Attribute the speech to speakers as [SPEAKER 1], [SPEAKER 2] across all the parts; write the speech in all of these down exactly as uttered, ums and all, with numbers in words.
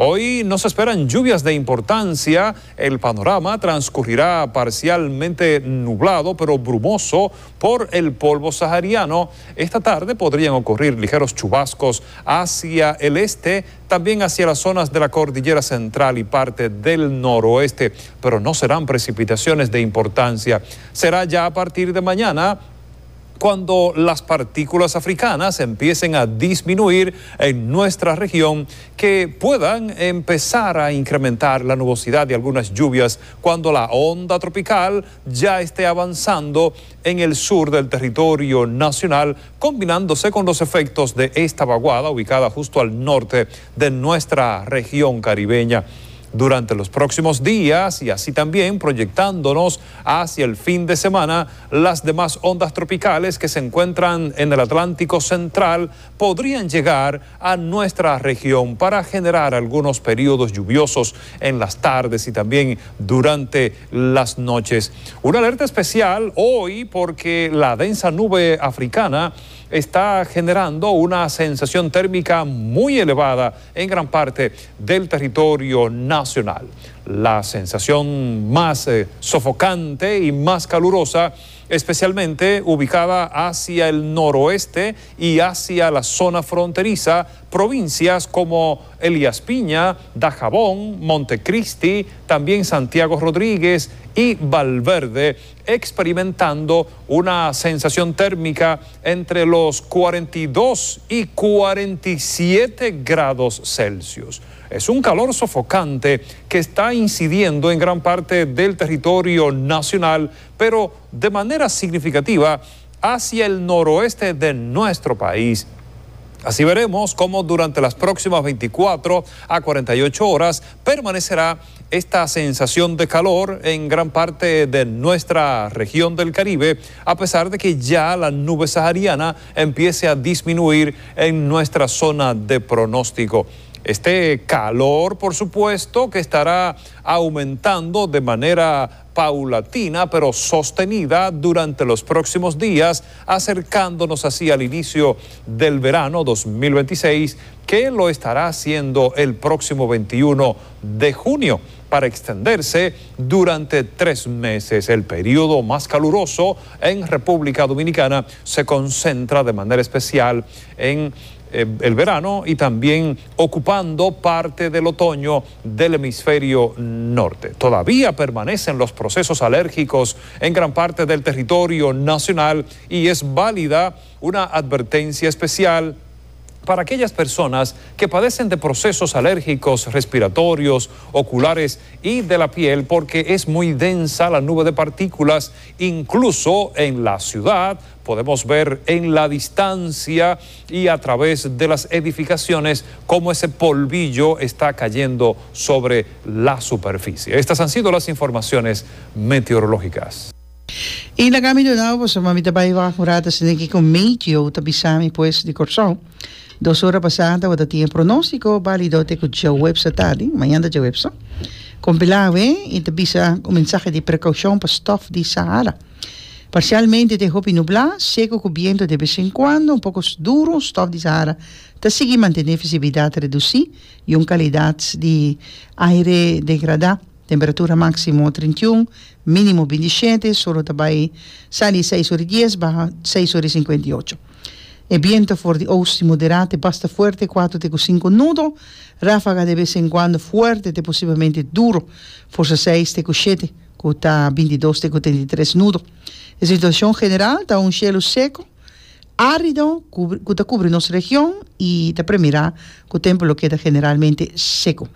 [SPEAKER 1] Hoy no se esperan lluvias de importancia. El panorama transcurrirá parcialmente nublado, pero brumoso por el polvo sahariano. Esta tarde podrían ocurrir ligeros chubascos hacia el este, también hacia las zonas de la cordillera central y parte del noroeste, pero no serán precipitaciones de importancia. Será ya a partir de mañana cuando las partículas africanas empiecen a disminuir en nuestra región, que puedan empezar a incrementar la nubosidad y algunas lluvias cuando la onda tropical ya esté avanzando en el sur del territorio nacional, combinándose con los efectos de esta vaguada ubicada justo al norte de nuestra región caribeña. Durante los próximos días y así también proyectándonos hacia el fin de semana, las demás ondas tropicales que se encuentran en el Atlántico Central podrían llegar a nuestra región para generar algunos periodos lluviosos en las tardes y también durante las noches. Una alerta especial hoy porque la densa nube africana está generando una sensación térmica muy elevada en gran parte del territorio nacional. La sensación más eh, sofocante y más calurosa, especialmente ubicada hacia el noroeste y hacia la zona fronteriza, provincias como Elías Piña, Dajabón, Montecristi, también Santiago Rodríguez y Valverde, experimentando una sensación térmica entre los cuarenta y dos y cuarenta y siete grados Celsius. Es un calor sofocante que está incidiendo en gran parte del territorio nacional, pero de manera significativa hacia el noroeste de nuestro país. Así veremos cómo durante las próximas veinticuatro a cuarenta y ocho horas permanecerá esta sensación de calor en gran parte de nuestra región del Caribe, a pesar de que ya la nube sahariana empiece a disminuir en nuestra zona de pronóstico. Este calor, por supuesto, que estará aumentando de manera paulatina, pero sostenida durante los próximos días, acercándonos así al inicio del verano dos mil veintiséis, que lo estará haciendo el próximo veintiuno de junio, para extenderse durante tres meses. El periodo más caluroso en República Dominicana se concentra de manera especial en el verano y también ocupando parte del otoño del hemisferio norte. Todavía permanecen los procesos alérgicos en gran parte del territorio nacional y es válida una advertencia especial para aquellas personas que padecen de procesos alérgicos respiratorios, oculares y de la piel, porque es muy densa la nube de partículas. Incluso en la ciudad podemos ver en la distancia y a través de las edificaciones cómo ese polvillo está cayendo sobre la superficie. Estas han sido las informaciones meteorológicas.
[SPEAKER 2] E na kami do nou, pues mamita bai wa murata siniki con meteo tabisami pues di Corsou. Dos horas pasada, wat tinha pronóstico válido te ku djaweps tardi, mañana djaweps. Compilave e te bisa un mensaje de precaución pa stof di Sahara. Parcialmente te hopi nublá, seco con viento de vez en cuando, un poco duro, stof di Sahara. Te sigue mantener visibilidad reducida y una calidad de aire degradada. Temperatura máximo treinta y uno, mínimo veintisiete, solo tabay sali seis horas dies, baja seis horas cincuenta y ocho. E viento for di oost moderate, basta fuerte, cuatro te cinco nudo, ráfaga de vez en cuando fuerte, te posiblemente duro, fuerza seis te siete, cuta veintidós te treinta y tres nudo. La situación general está un cielo seco, árido, cuta cubre nuestra región y te premirá que el tiempo lo queda generalmente seco.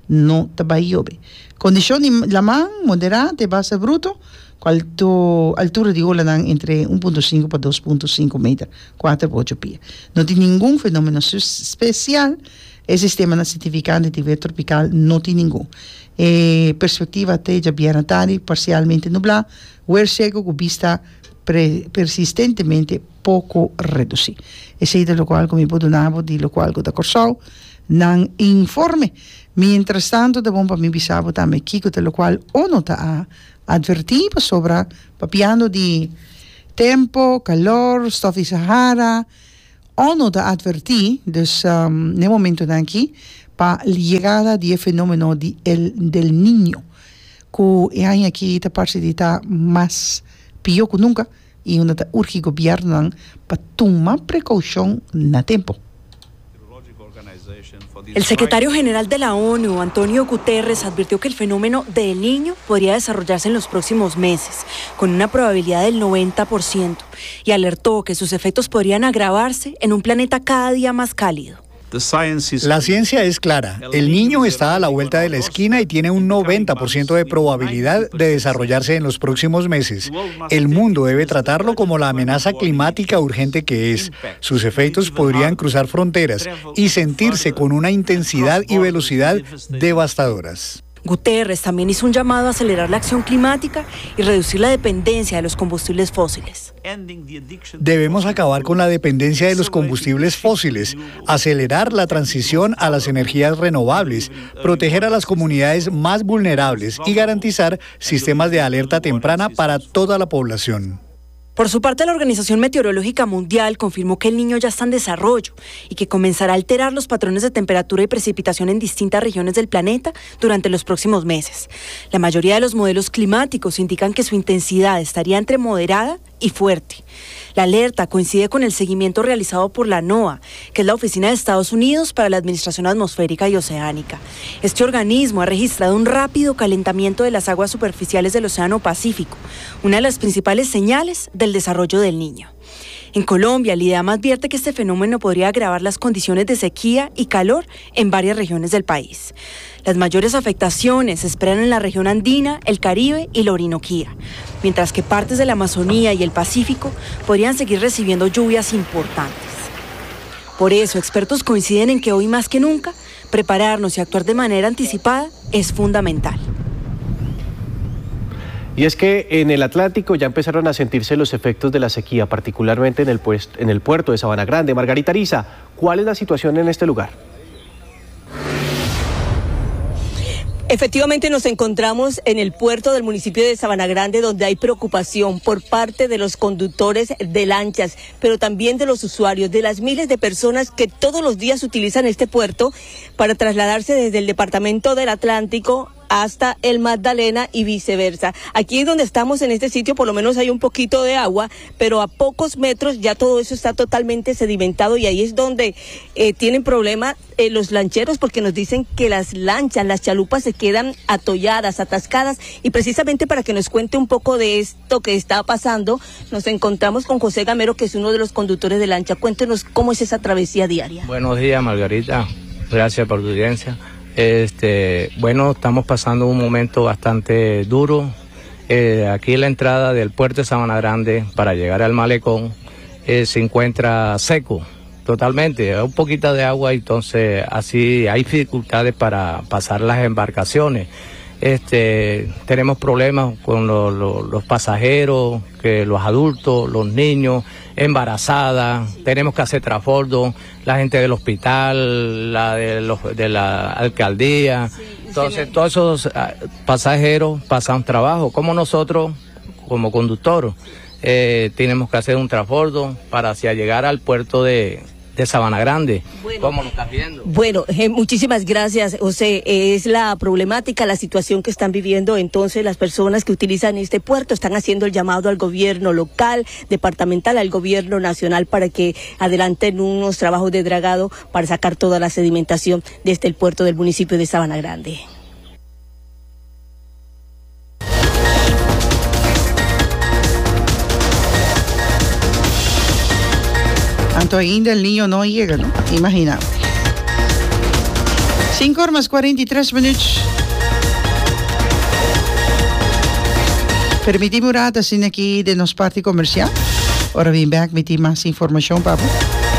[SPEAKER 2] No tabayobe. Condición de la man moderate, base bruto, alto, altura de ola entre uno punto cinco para dos punto cinco metros, cuatro por ocho pies. No tiene ningún fenómeno especial. El sistema certificante de nivel tropical no tiene ningún. Eh, perspectiva te ya bien tarde, parcialmente nublado, huer seco con vista pre, persistentemente poco reducido. Ese es de lo cual como puedo nabo de lo cual da Corsou nan informe. Mientras tanto, de bomba mi bisabo también kiko de lo cual ono ta a advertir sobre papiando di tempo, calor, stof di Sahara. Ono ta advertir, dus um, ne momento dan aquí, Pa yegada di e fenomeno di el del Niño, ku e aña aki ta parse di ta mas pió ku nunka i unda ta urgi gobièrnunan pa tuma prekoushon na tempu.
[SPEAKER 3] El secretario general de la ONU, Antonio Guterres, advirtió que el fenómeno del Niño podría desarrollarse en los próximos meses, con una probabilidad del noventa por ciento, y alertó que sus efectos podrían agravarse en un planeta cada día más cálido.
[SPEAKER 4] La ciencia es clara. El Niño está a la vuelta de la esquina y tiene un noventa por ciento de probabilidad de desarrollarse en los próximos meses. El mundo debe tratarlo como la amenaza climática urgente que es. Sus efectos podrían cruzar fronteras y sentirse con una intensidad y velocidad devastadoras.
[SPEAKER 3] Guterres también hizo un llamado a acelerar la acción climática y reducir la dependencia de los combustibles fósiles.
[SPEAKER 4] Debemos acabar con la dependencia de los combustibles fósiles, acelerar la transición a las energías renovables, proteger a las comunidades más vulnerables y garantizar sistemas de alerta temprana para toda la población.
[SPEAKER 3] Por su parte, la Organización Meteorológica Mundial confirmó que el Niño ya está en desarrollo y que comenzará a alterar los patrones de temperatura y precipitación en distintas regiones del planeta durante los próximos meses. La mayoría de los modelos climáticos indican que su intensidad estaría entre moderada y fuerte. La alerta coincide con el seguimiento realizado por la NOAA, que es la Oficina de Estados Unidos para la Administración Atmosférica y Oceánica. Este organismo ha registrado un rápido calentamiento de las aguas superficiales del Océano Pacífico, una de las principales señales del desarrollo del Niño. En Colombia, el IDEAM advierte que este fenómeno podría agravar las condiciones de sequía y calor en varias regiones del país. Las mayores afectaciones se esperan en la región andina, el Caribe y la Orinoquía, mientras que partes de la Amazonía y el Pacífico podrían seguir recibiendo lluvias importantes. Por eso, expertos coinciden en que hoy más que nunca, prepararnos y actuar de manera anticipada es fundamental.
[SPEAKER 5] Y es que en el Atlántico ya empezaron a sentirse los efectos de la sequía, particularmente en el, en el puerto de Sabana Grande. Margarita Ariza, ¿cuál es la situación en este lugar?
[SPEAKER 6] Efectivamente, nos encontramos en el puerto del municipio de Sabana Grande, donde hay preocupación por parte de los conductores de lanchas, pero también de los usuarios, de las miles de personas que todos los días utilizan este puerto para trasladarse desde el departamento del Atlántico hasta el Magdalena y viceversa. Aquí donde estamos, en este sitio, por lo menos hay un poquito de agua, pero a pocos metros ya todo eso está totalmente sedimentado y ahí es donde eh, tienen problema eh, los lancheros, porque nos dicen que las lanchas, las chalupas se quedan atolladas, atascadas, y precisamente para que nos cuente un poco de esto que está pasando, nos encontramos con José Gamero, que es uno de los conductores de lancha. Cuéntenos cómo es esa travesía diaria.
[SPEAKER 7] Buenos días, Margarita. Gracias por tu audiencia. Este, bueno, estamos pasando un momento bastante duro. Eh, aquí la entrada del puerto de Sabana Grande para llegar al malecón eh, se encuentra seco totalmente, un poquito de agua, entonces así hay dificultades para pasar las embarcaciones. Este, tenemos problemas con lo, lo, los pasajeros, que los adultos, los niños, embarazadas, tenemos que hacer transbordo, la gente del hospital, la de, los, de la alcaldía. Entonces, todos esos pasajeros pasan trabajo, como nosotros, como conductor, eh, tenemos que hacer un transbordo para hacia llegar al puerto de, de Sabana Grande.
[SPEAKER 6] Bueno,
[SPEAKER 7] ¿cómo lo estás viendo?
[SPEAKER 6] Bueno, eh, muchísimas gracias, José. Es la problemática, la situación que están viviendo entonces las personas que utilizan este puerto. Están haciendo el llamado al gobierno local, departamental, al gobierno nacional para que adelanten unos trabajos de dragado para sacar toda la sedimentación desde el puerto del municipio de Sabana Grande.
[SPEAKER 2] Anto ainda el Niño no yega, no? Imagina. Sinku or mas kuarenta i tres minuut. Permití mi un ratu asina aki di nos parti komersial. Ora bin bèk, mi tin mas informashon, papo.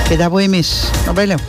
[SPEAKER 2] Keda bon mes. No bai leu.